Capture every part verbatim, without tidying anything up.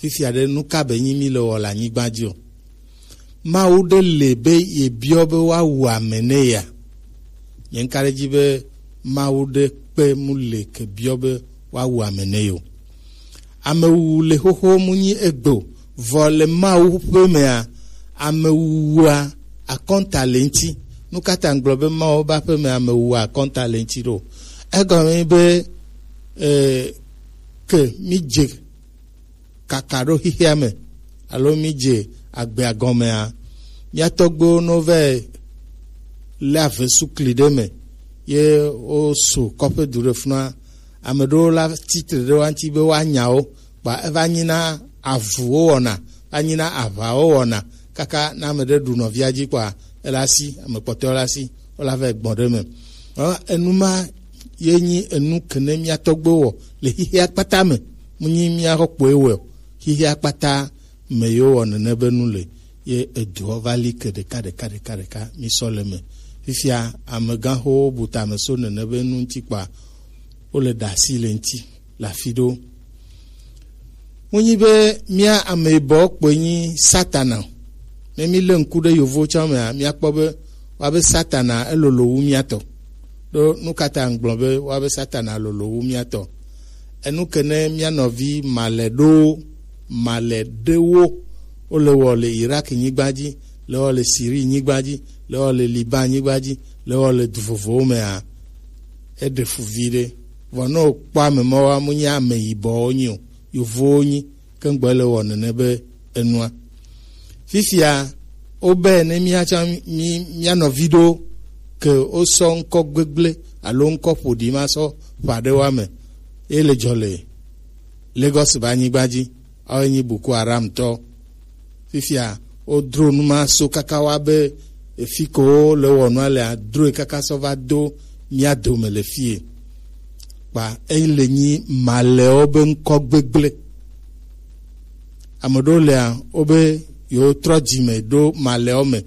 Fifia ɖe, nu ka be nyi mi le wɔ le anyigba dzi o? Mawu ɖe le be ye biɔ be woawu ame nɛ ya? Nye ŋka ɖe dzi be Mawu ɖe kpe mu le ke biɔ be woawu ame nɛ yo. Amewuwu le xoxo mu nyi egbe o, vɔ le Mawu ƒe mea, amewuwua akɔnta le ŋti. Nu ka ta ŋgblɔ be Mawu ƒe aƒe me amewuwua akɔnta le ŋti ɖo? Egɔme be, e, ke mi dze kaka ɖo xixea me, alo mi dze agbea gɔmea, mía tɔgbuiwo no vɛ lé ave sukli ɖe me, ye wo su kɔƒe du ɖe funua. Ame ɖewo la tsitre ɖe wa ŋuti be woanya wo, kpa eva nyi na avu wo wɔna, va nyi na aʋa wo wɔna, kaka na ame ɖe ɖu nɔvia dzi kpa ela si, ame kpɔtɔewo la si, wola vɛ gbɔn ɖe me. Ɔ, enu ma ye nyi enu kene mía tɔgbuiwo wɔ le xixea kpata me, mu nyi mía xɔ kpoe wɔ o. Xixea kpata me yewo wɔ nene be nu le, ye eduɔ va li ke ɖeka ɖeka ɖeka ɖeka mi sɔ le me. Fifia amegãxowo bu tame so nene be nu ŋuti kpa wo le ɖe asi le ŋuti le afi ɖewo. Mu nyi be mía ame yibɔ kpoe nyi Satana o. Ne mi le ŋku ɖe yovo tsã mea, mía kpɔ be wa be Satana elolo wu mía tɔ. Ɖo nu ka ta ŋgblɔ be wa be Satana lolo wu mía tɔ? Enu ke ne mía nɔvi malɛ ɖo malɛ ɖewo wo le wɔ le Irak nyigba dzi, le wɔ le Siri nyigba dzi, le wɔ le Liban nyigba dzi, le wɔ le du vovowo mea, eɖe fu vi ɖe. Vɔ ne wokpɔ ame mawoa, mu nyi ame yibɔwo nyi o, yovowo nyi, ke ŋgbɔ le wɔ nene be enua. Fifia, wobe ne míatsɔ mí, mía nɔvi ɖo ke wosɔ ŋkɔ gbegblẽ alo ŋkɔ ƒoɖi ma sɔ ƒã ɖe woa me, ye le dzɔ le Lagos be anyigba dzi, awoe nyi Boko Haram tɔ. Fifia, wodro nu ma so kaka wa be efi ko wo le wɔ nua lea, droe kaka sɔ va do mía dome le fie. Kpa eyi le nyi malɛwo be ŋkɔ gbegblẽ. Ame ɖewo lea, wobe yewotrɔ dzime ɖo malɛwo me.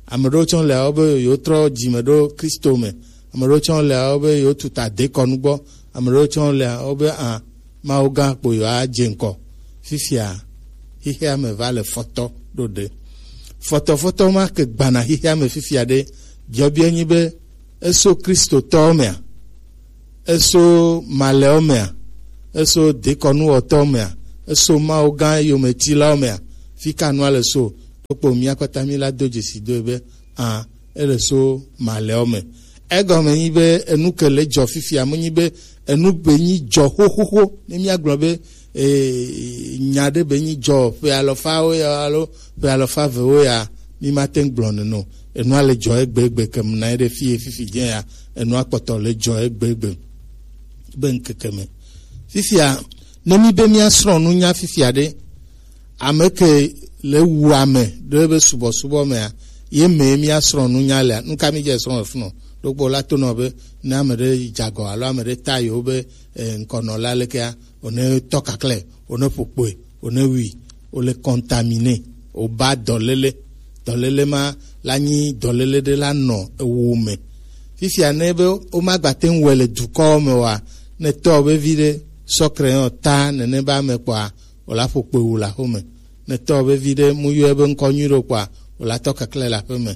Ame ɖewo tsɔ lea, wobe yewotrɔ dzime ɖo Kristo me. Ame ɖewo tsɔ lea, wobe yewotuta dekɔnu gbɔ. Ame ɖewo tsɔ lea, wobe a, Mawu gã kpo yewoadze ŋkɔ. Fifia, xixea me va le fɔtɔ ɖo ɖe. Fɔtɔfɔtɔ ma ke gbana xixea me fifia ɖe. Biɔbiɔ nyi be, eso Kristotɔwo mea? Eso malɛwo mea? Eso dekɔnuwɔtɔwo mea? Eso Mawu gã yometilawo mea? Fi ka nua le so? Ɖokpo mía kpata mí la do dzesi do be, a, ele so malɛwo me. Egɔme nyi be enu ke le dzɔ fifia, mu nyi be enu be nyi dzɔ xoxoxo. Ne míagblɔ be, e, nya ɖe be nyi dzɔ ƒe alɔfawo ya alo ƒe alɔfa evewo ya, mi ma te ŋu gblɔ nene o. Enua le dzɔ egbegbe ke mu na ye ɖe fie fifi dze ya, enua kpɔtɔ le dzɔ egbegbe be ŋkeke me. Fifia, ne mi be míasrɔ̃ nunya fifia ɖe, ame ke le wu ame ɖe be subɔsubɔ mea, ye me míasrɔ̃ nunya lea, nu ka mi dze srɔ̃ efunɔ? Ɖokpo la tonɔ be ne ame ɖe dze agɔ alo ame ɖe ta yewo be, e, ŋkɔnɔ la lekea, wone tɔ kaklɛ, wone ƒo kpoe, wone wui, wole contaminer, woba dɔléle. Dɔléle ma la nyi dɔléle ɖe la nɔ ewo me. Fifia ne be womagba te ŋu wɔe le dukɔwo me oa, ne tɔ be vi ɖe sɔ crayon ta nene be ame kpɔa, wòla ƒo kpoe wu le aƒe me. Ne tɔ be vi ɖe mu yɔe be ŋkɔ nyui ɖo kpɔa, wòla tɔ keklẽ le aƒe me.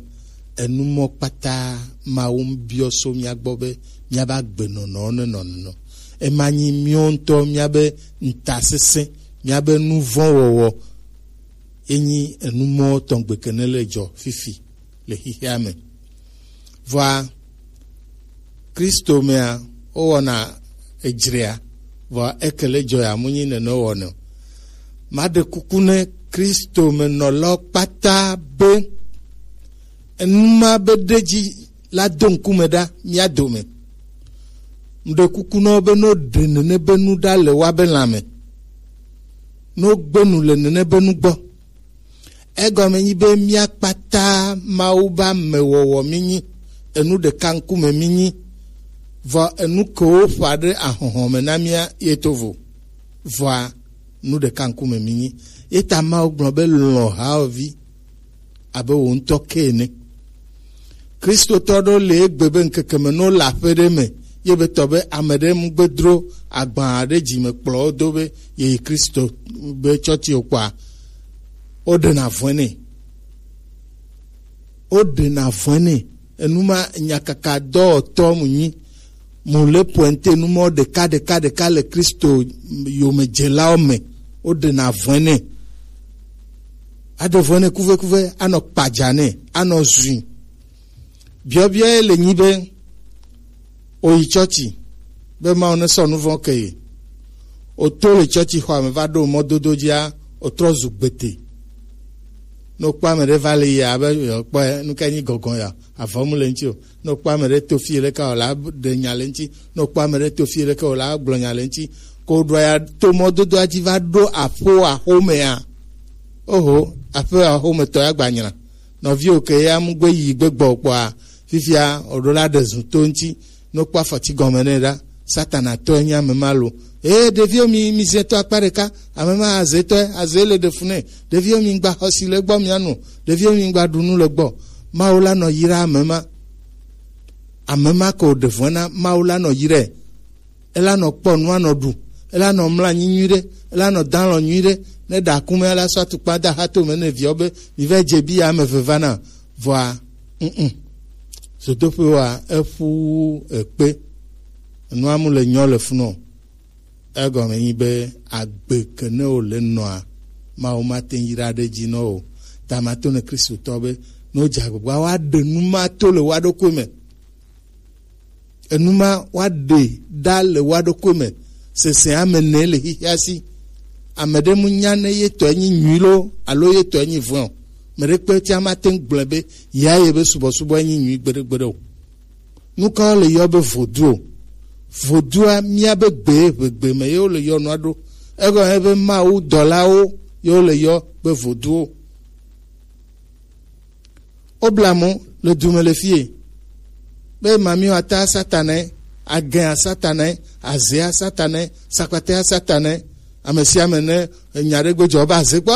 Enu mɔ kpata Mawu biɔ so mía gbɔ be míabe agbenɔnɔwo nenɔ nenɔ. Ema nyi míawo ŋutɔ míabe ŋutasesẽ, míabe nu vɔ̃ wɔwɔ. Enyi enu mɔ tɔgbe ke ne le dzɔ fifi le xixea me. Vɔa, Kristo mea, wowɔna edzrea, vɔa eke le dzɔ ya mu nyi nene wowɔnɛ o. Maɖe kuku ne Kristo me nɔlawo kpata be enu ma be ɖe dzi la do ŋkume ɖa mía dome. Meɖe kuku na wo be no ɖe nene be nu ɖa le woabe lãme, no gbe nu le nene be nu gbɔ. Egɔme nyi be mía kpata Mawu be amewɔwɔ mí nyi, enu ɖeka ŋkume mí nyi, vɔ enu kewo ƒã ɖe ahɔhɔ me na mía ye to vo. Vɔa nu ɖeka ŋkume mí nyi. Ye ta Mawu gblɔ be lɔ̃ hawòvi abe wò ŋutɔ ke ene. Kristotɔ ɖewo le egbe be ŋkeke me ne wole aƒe ɖe me, Ye be tɔ be ame ɖe mu gbe dro agba ɖe dzi me kplɔ wo do be ye yi Kristo be tsɔtsi o kpɔa, wo ɖena vɔe nɛ. Wo ɖena vɔe nɛ. Enu ma nyakaka dɔwɔtɔ mu nyi. Mu le pointe nu mɔ ɖeka ɖeka ɖeka le Kristo yomedzelawo me. Wo ɖena vɔe nɛ. Aɖe vɔe nɛ kuvekuve, anɔ kpadza nɛ, anɔ zui. Biɔbiɔ ye le nyi be, o yi tsɔtsi be Mawu ne sɔ nu vɔ̃ ke ye. O to le tsɔtsi xɔa me va ɖo mɔdodo dzia, o trɔ zu gbete. Ne o kpɔ ame ɖe va le yi abe yewo kpɔe, nu ka nyi gɔgɔn ya, avɔ mu le ŋuti o. Ne o kpɔ ame ɖe to fi ɖeka o la ɖe nya le ŋuti. Ne o kpɔ ame ɖe to fi ɖeka o la gblɔ nya le ŋuti. Ko ɖo ya to mɔdodoa dzi va ɖo aƒo axomea. Oho, aƒe axometɔ ya gba nyra. Nɔviwo ke ya mu gbe yi gbe gbɔ kpɔa, fifia o ɖo la ɖe zu to ŋuti. Ne o kpɔ afɔti gɔme nɛ ɖa, Satana tɔe nye ame ma lo. Ee, ɖeviwo mi, mi zɛ to akpa ɖeka, ame ma azetɔe, aze le ɖe fu nɛ. Ɖeviwo mi gba xɔsi le gbɔ mia nu. Ɖeviwo mi gba ɖu nu le gbɔ. Mawu la nɔ yra ame ma. Ame ma ko ɖe vɔe na Mawu la nɔ yrae. Ela nɔ kpɔ nu anɔ ɖu. Ela nɔ mla anyi nyuiɖe. Ela nɔ dalɔ nyuiɖe. Ne ɖa kume la sɔ atukpa da ha to me ne viɔ be mi va dze bi ame veva na. Vɔa, mm, zodoƒe wa eƒu ekpe. Enua mu le nyɔ le funɔ. Egɔme nyi be agbe ke ne wo le nɔa, Mawu mate ŋu yra ɖe dzi nɔ o. Ta mato ne Kristotɔ be ne wodze agbagba woaɖe nu ma to le woa ɖokui me. Enu ma woaɖe ɖa le woa ɖokui me. Sese ame ne le xixia si. Ame ɖe mu nya ne ye tɔe nyi nyui lo alo ye tɔe nyi vɔ̃ o. Me ɖe kpe tia mate ŋu gblɔe be ya ye be subɔsubɔ nyi nyui gbeɖegbeɖe o. Nu ka wole yɔ be vodu o? Vodua mía be gbe ʋegbe me ye wole yɔ nua ɖo. Egɔme be Mawu dɔlawo ye wole yɔ be voduwo. Wobla mo le du me le fie. Be mamiwo ata Satanae, agɛa Satanae, azea Satanae, sakpatea Satanae. Ame sia ame ne enya ɖe gbe dzɔ be aze kpɔ,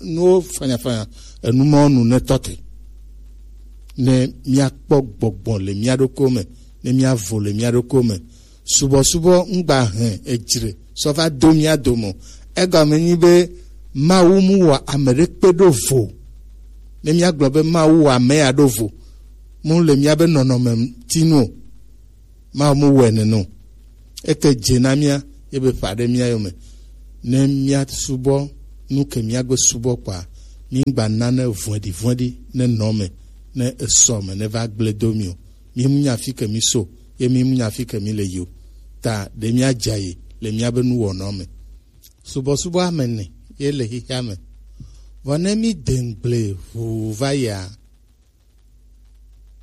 nuwo fanyafanya, enu mawo nu ne tɔ te. Ne míakpɔ gbɔgbɔ le mía ɖokuiwo me, ne míavo le mía ɖokuiwo me. Subɔsubɔ ŋgba hɛn edzre sɔ va do mía dome o. Egɔme nyi be Mawu mu wɔ ame ɖe kpe ɖo vo. Ne míagblɔ be Mawu wɔ ame ya ɖo vo, mu le míabe nɔnɔme ŋuti nu o. Mawu mu wɔe nene o. Eke dze na mía, ye be ƒa ɖe mía yome. Ne míasubɔ nu ke míagbe subɔ kpɔa, mígba nane vɔ̃ɖivɔ̃ɖi ne nɔ me, ne esɔ me, ne va gblẽ do mí o. Mímu nya fi ke mí so, ye mímu nya fi ke mí le yi o. Ta ɖe míadza yi le míabe nuwɔnɔ me. Subɔsubɔ ame ene ye le xexea me. Vɔ ne míde ŋugble ʋuu va yia,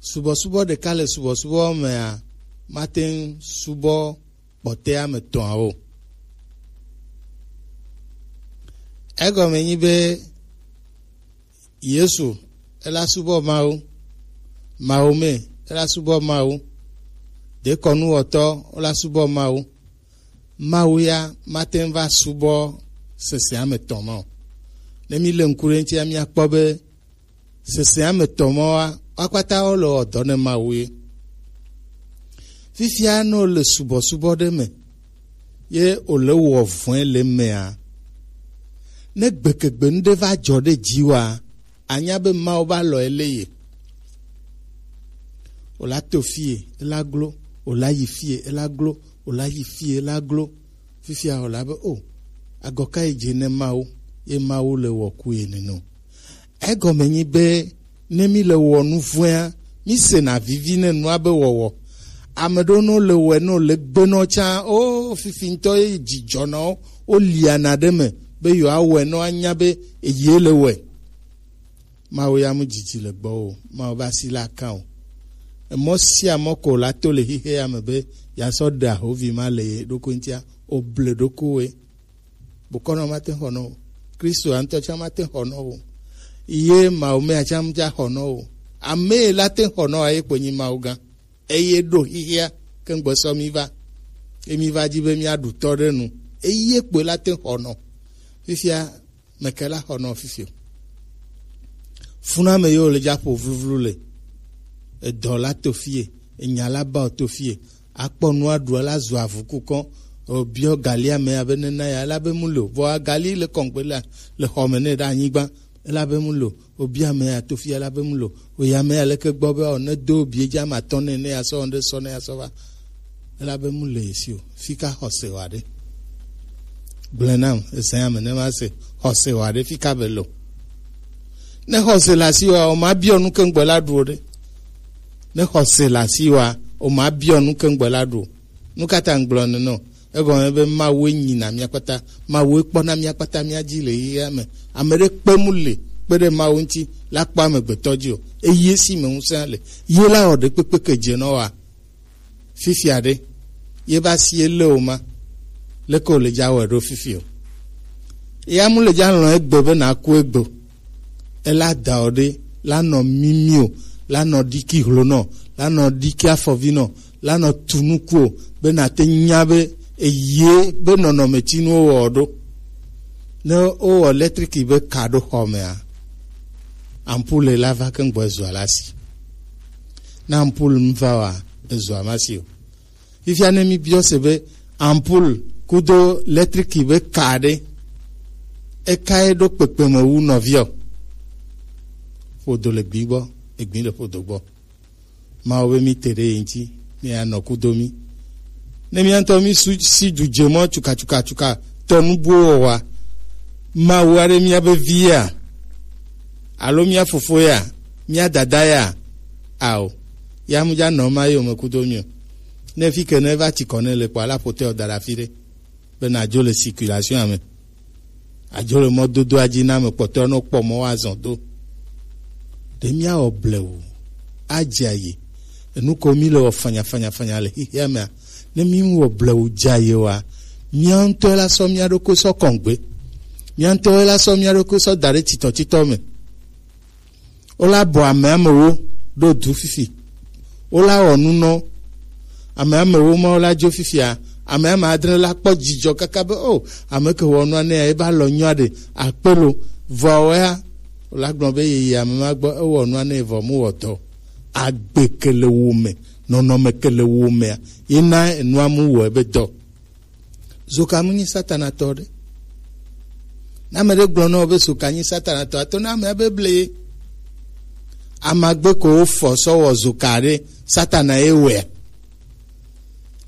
subɔsubɔ ɖeka le subɔsubɔ mea, mate ŋu subɔ kpɔtɔea me tɔ̃awo. Egɔme nyi be Yesu ela subɔ Mawu, Mawu me ela subɔ Mawu, dekɔnuwɔtɔ wola subɔ Mawu. Mawu ya mate ŋu va subɔ sesea me tɔ̃ ma o. Ne míle ŋku ɖe eŋutia, míakpɔ be sesea me tɔ̃ mawoa, wo kpata wole wɔ dɔ ne Mawu ye. Fifia ne wole subɔsubɔ ɖe me, ye wòle wɔ vɔ̃e le emea, ne gbekegbe nu ɖe va dzɔ ɖe dziwòa, anya be Mawu va lɔ ele ye. Wòla to fie, ela glo, wòla yi fie, ela glo, wòla yi fie, ela glo. Fifia wòla be, o, agɔ ka yi dze ne Mawu, ye Mawu le wɔ ku ye nene o. Egɔme nyi be ne mi le wɔ nu vɔ̃ea, mi sena vivi ne nua be wɔwɔ. Ame ɖewo ne wole wɔe ne wole gbe nɔ tsã, o, fifi ŋutɔ ye dzidzɔ na wo, woliana ɖe me be yewoawɔe ne woanya be eye le wɔe. Mawu ya mu dzidzi le gbɔwò o. Mawu be asi la kã o. Emɔ sia mɔ ko la to le xexe ya me be ya sɔ ɖe ahovi ma le ye ɖokui ŋutia, o ble ɖokuiwòe. Bokɔnɔ mate xɔ nɔ o. Kristo ŋutɔ tsã mate xɔ nɔ o. Ye Mawu mea tsã mutsa xɔ nɔ o. Ame la te xɔ nɔ a ye kpo nyi Mawu gã. Eye ɖo xixia ke ŋgbɔ sɔ mi va. Emi va dzi be mia ɖu tɔ ɖe nu. Eye kpoe la te xɔ nɔ. Fifia meke la xɔ nɔ fifi o. Funame yewo le dza ƒo vluvlu le. Edɔ la to fie. Enya la ba o to fie. Akpɔ nu aɖu la zu avu kukɔ. O biɔ gali ame abe nena ya la be mu le o. Vɔ agali le kɔngbe la le xɔme ne ɖe anyigba. Ela be mu lo, obi ame ya to fi ela be mu lo, oya ame ya leke gbɔ be o ne do bie dza ma tɔ ne ne ya sɔ ne sɔ ne ya sɔ va. Ela be mu le esi o, fi ka xɔse wa ɖe. Gblẽ nam, ese ame ne ma se xɔse wa ɖe fi ka be lo. Ne xɔse la si wa, o ma biɔ nu ke ŋgbe la ɖu o ɖe. Ne xɔse la si wa, o ma biɔ nu ke ŋgbe la ɖu o. Nu ka ta ŋgblɔ nenɔ? Egɔme be Mawu enyi na mía kpata, Mawu ekpɔ na mía kpata mía dzi le yeyea me. Ame ɖe kpe mu le kpe ɖe Mawu ŋuti la kpɔ amegbetɔ dzi o. Eye si me ŋusẽ le. Ye la wɔ ɖe kpekpe ke dze nɔ wa. Fifia ɖe, ye ba si ele o ma. Leke o le dza wɔ ɖo fifi o. Ya mu le dza lɔ̃ egbe be na ku egbe o. Ela da o ɖe, la nɔ mimi o, la nɔ ɖiki hlonɔ, la nɔ ɖiki afɔvinɔ, la nɔ tu nuku o, be na te nya be eye be nɔnɔme ti nu wowɔ ɖo. Ne wowɔ lɛtriki be ka ɖo xɔ mea, ampule la va ke ŋgbɔ ezua la si. Ne ampule mu va wa, ezua ma si o. Fifia ne mi biɔ se be ampoule kudo lɛtriki be ka ɖe, eka ye ɖo kpekpe me wu nɔviɔ? Ƒodo le gbi gbɔ, egbi le ƒodo gbɔ. Mawu be mi te ɖe ye ŋuti, mi anɔ kudo mi. Ne mía ŋutɔ mi su si du dze mɔ tsuka tsuka tsuka tɔ nu buwo wɔwa, Mawu aɖe mía be vi ya, alo mía fofo ya, mía dada ya, ao, ya mu dza nɔ ma yome kudo mi o. Ne fi ke ne va tsi kɔ ne le kpɔ ala ƒotɛ o da ɖe afi ɖe be na dzo le circulation me, adzo le mɔdodoa dzi na ame kpɔtɔewo ne kpɔ mɔ woazɔ do. Ɖe míawɔ blewu adze ayi enu ko mi le wɔ fanya fanya fanya le xixia mea? Ne mi wɔ blewu dze ayi wa, mía ŋutɔ la sɔ mía ɖokui sɔ kɔngbe, mía ŋutɔ la sɔ mía ɖokui sɔ da ɖe titɔ titɔ me. Wola bɔ ame amewo ɖo du fifi. Wola wɔ nu nɔ ame amewo ma wola dzo fifia. Ame ame adre la kpɔ dzidzɔ kaka be o, ame ke wɔ nua ne ya eba lɔ nyua ɖe akpe lo. Vɔ ya wola gblɔ be yeyi ame ma gbɔ ewɔ nua ne vɔ mu wɔ dɔ. Agbe ke le wo me, nɔnɔme ke le wo mea, ye na enua mu wɔ ebe dɔ. Zoka mu nyi Satana tɔ ɖe. Ne ame ɖe gblɔ na wò be zoka nyi Satana tɔ, ato na amea be ble ye. Amagbe ko wofɔ sɔ wɔ zoka ɖe, Satana ye wɔea.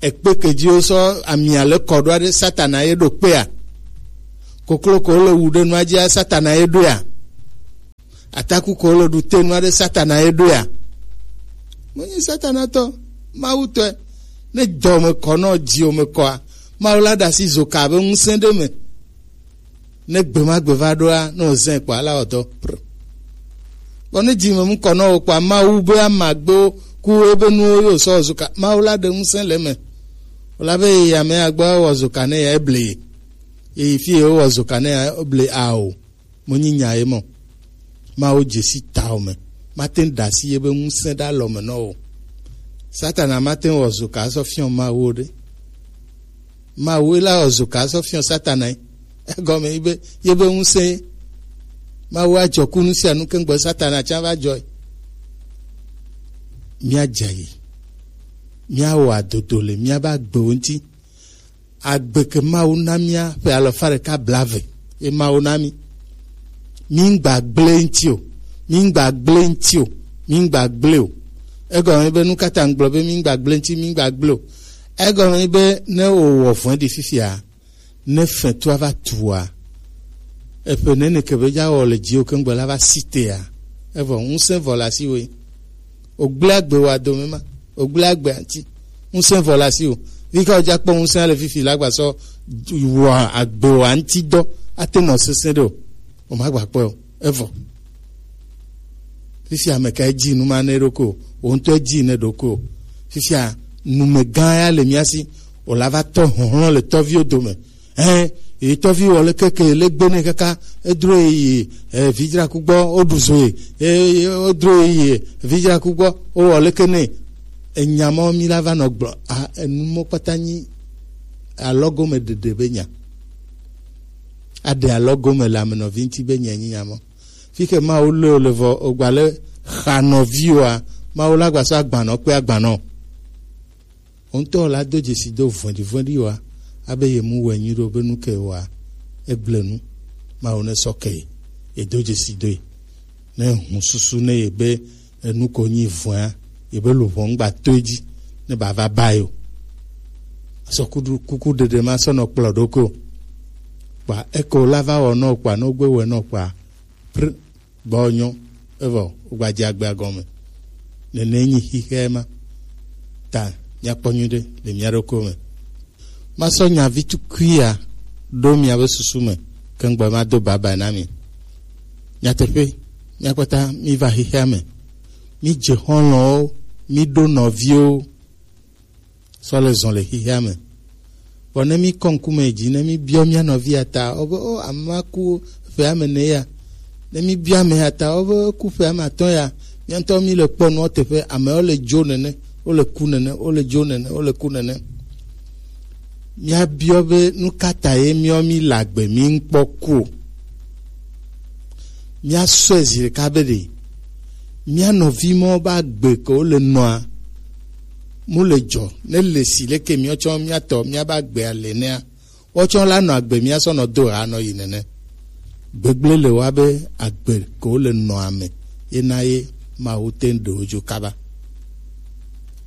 Ekpe ke dzi wosɔ amia le kɔ ɖoa ɖe, Satana ye ɖo kpea. Koklo ko le wu ɖe nua dzia, Satana ye ɖoea. Ataku ko le ɖu te nua ɖe, Satana ye ɖoea. Menyi Satana tɔ, Mawu tɔe. Ne dɔ me kɔ nɔ dzi o me kɔa, Mawu la ɖe asi zoka be ŋusẽ ɖe me. Ne gbe ma gbe va ɖoa, ne wòzẽ kpɔa, ala wɔ dɔ. Pr. Vɔ ne dzi me mu kɔ nɔ wò kpɔa, Mawu be amagbewo ku ebe nuwo yo sɔ zoka. Mawu la ɖe ŋusẽ le me. Wòla be yi ame ya gbɔ wɔ zoka ne ya eble. Yi fi ye wɔ zoka ne ya eble ao. Menyi nya ye mɔ. Mawu dze si tawò me. Mate ŋu ɖe asi ye be ŋusẽ ɖe alɔ me nɔ o. Satana mate ŋu wɔ zoka sɔ fiɔ Mawu o ɖe. Mawu la wɔ zoka sɔ fiɔ Satana ye. Egɔme yi be ye be ŋusẽ ye. Mawu adzɔ ku nu sia nu keŋ gbɔ Satana tsã va dzɔ ye. Mía dze yi. Mía wɔ adodo le mía be agbewo ŋuti. Agbe ke Mawu na mía ƒe alɔfa ɖeka blaeve ye Mawu na mí. Mí ŋgba gblẽ ŋuti o, mí ŋgba gblẽ ŋuti o, mí ŋgba gblẽ o. Egɔme be nu ka ta ŋgblɔ be mí ŋgba gblẽ ŋuti, mí ŋgba gblẽ o? Egɔme be ne wòwɔ vɔ̃ɖi fifia, ne fɛtua va tua, eƒe nene ke be dza wɔ le dziwo keŋgbe la va si tea, evɔ ŋusẽ vɔ le asiwò ye. Wògblẽ agbe wò adome ma. Wògblẽ agbe ŋuti. Ŋusẽ vɔ le asiwò. Vi ka wòdza kpɔ ŋusẽ le fifi la gba sɔ wɔ agbe wò ŋuti dɔ ate nɔ sesẽ ɖe o. Wòmagba kpɔe o. Evɔ. Fifi ame ka edzi nu ma ne ɖokui o. Wò ŋutɔ edzi ne ɖokui o. Fifia numegã ya le mía si. Wòla va tɔ hlɔ̃hlɔ̃ le tɔviwo dome. Ɛ, yi tɔvi wɔ leke ke le gbe nɛ kaka edro yi, ɛ, vidzraku gbɔ, woɖu zo yi, ɛ, wodro yi vidzraku gbɔ, wowɔ leke nɛ. Enya mɔ mi la va nɔ gblɔ, a, enu mɔ kpata nyi alɔgome ɖeɖe be nya. Aɖe alɔgome le ame nɔvi ŋuti be nya nyi nya mɔ. Fi ke Mawu lé o le vɔ, o gba le xa nɔvi oa, Mawu la gba sɔ agbanɔ kpe agbanɔ. Wo ŋutɔ la do dzesi do vɔ̃ɖivɔ̃ɖi wa, abe ye mu wɛ nyui ɖo be nu ke wa, egble nu, Mawu ne sɔ ke ye, ye do dzesi doe. Ne hun susu ne ye be enu ko nyi vɔ̃a, ye be luʋɔ ŋgba to edzi, ne ba va ba yo. Sɔ kuku ɖeɖe ma sɔ nɔ kplɔ ɖo ko. Kpa eko la va wɔ nɔ kpa, no gbe wɛ nɔ kpa. Pr-, gbɔ nyɔ, evɔ, wogba dze agbea gɔme. Nene nyi xixea ma. Ta, míakpɔ nyuiɖe le mía ɖokuiwo me. Masɔ nya vi tukuia ɖo miabe susu me, ke ŋgbɔ mado baba na mi. Nyateƒe, míakpɔta míva xixea me. Mídze xɔlɔ̃wo, míɖo nɔviwo, sɔ le zɔn le xixea me. Vɔ ne mi kɔ ŋkume dzi, ne mi biɔ mia nɔvia ta, o be, o, ame ma ku ƒe ame ne ya. Ne mi biɔ ame ya ta, o be, ku ƒe ame atɔ̃ ya. Mia ŋutɔ mi le kpɔ nua teƒe, amewo le dzo nene, wo le ku nene, wo le dzo nene, wo le ku nene. Mia biɔ be nu ka ta ye miɔ mi le agbe mi ŋkpɔ ku o. Mia sɔe zi ɖeka be ɖe mia nɔvi mɔ ba gbe ke wo le nɔa, mu le dzɔ, ne le si leke mia tsɔ mia tɔ mia ba gbe ale nea, wotsɔ la nɔ agbe mia sɔ nɔ do ha nɔ yi nene. Gbegble le wa be agbe ke wo le nɔa me, ye na ye Mawu te ɖe wo dzo kaba.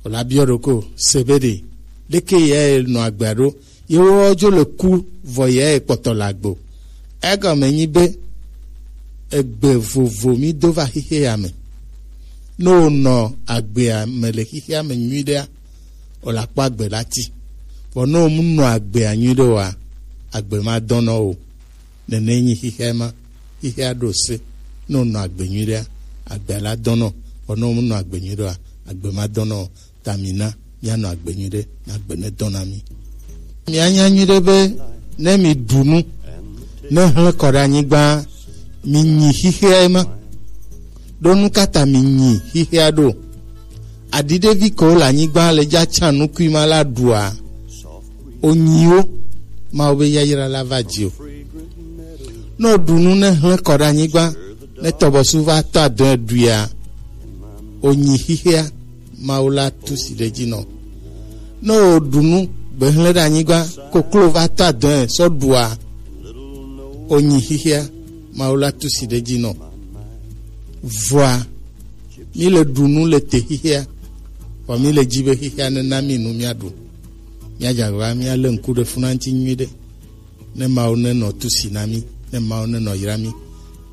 Wòla biɔ ɖoko se be ɖe, leke ye nɔ agbea ɖo, ye wo dzo le ku vɔ ye kpɔtɔ le agbe o. Egɔme nyi be egbe vovo mi do va xixea me. Ne wonɔ agbea me le xixea me nyuiɖea, o la kpɔ agbe la ti. Vɔ ne womu nɔ agbea nyuiɖe oa, agbe ma dɔnɔ o. Nene nyi xixea ma. Xixea ɖo se. Ne wonɔ agbe nyuiɖea, agbea la dɔnɔ. Vɔ ne womu nɔ agbe nyuiɖe oa, agbe ma dɔnɔ o. Ta mina míanɔ agbe nyuiɖe, na agbe ne dɔ na mí. Mianya nyuiɖe be ne mi ɖu nu, ne hlẽ kɔ ɖe anyigba, mi nyi xixea ma. Ɖo nu ka ta mi nyi xixea ɖo? Aɖiɖevi kewo le anyigba le dza tsa nukui ma la ɖua, onyiwo, Mawu be yayra la va dzi o. Ne woɖu nu ne hlẽ kɔ ɖe anyigba, ne tɔbɔsu va tɔ adɔe ɖuia, onyi xixea, Mawu la tu si ɖe dzi nɔ. Ne woɖu nu gbehlẽ ɖe anyigba, koklo va tɔ adɔe sɔ ɖua, onyi xixea, Mawu la tu si ɖe dzi nɔ. Vɔa, mi le ɖu nu le te xixea, vɔ mi le dzi be xixea ne na mi nu mia ɖu. Mia dze agbagba mia le ŋku ɖe funa ŋuti nyuiɖe. Ne Mawu ne nɔ tusi na mí, ne Mawu ne nɔ yra mí,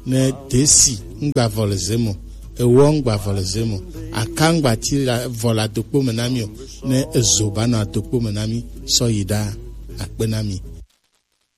ne desi ŋgba vɔ le ze me o, ewɔ ŋgba vɔ le ze me o, aka ŋgba ti la vɔ le adokpo me na mí o, ne ezo ba nɔ adokpo me na mí, sɔ yi ɖa, akpe na mí.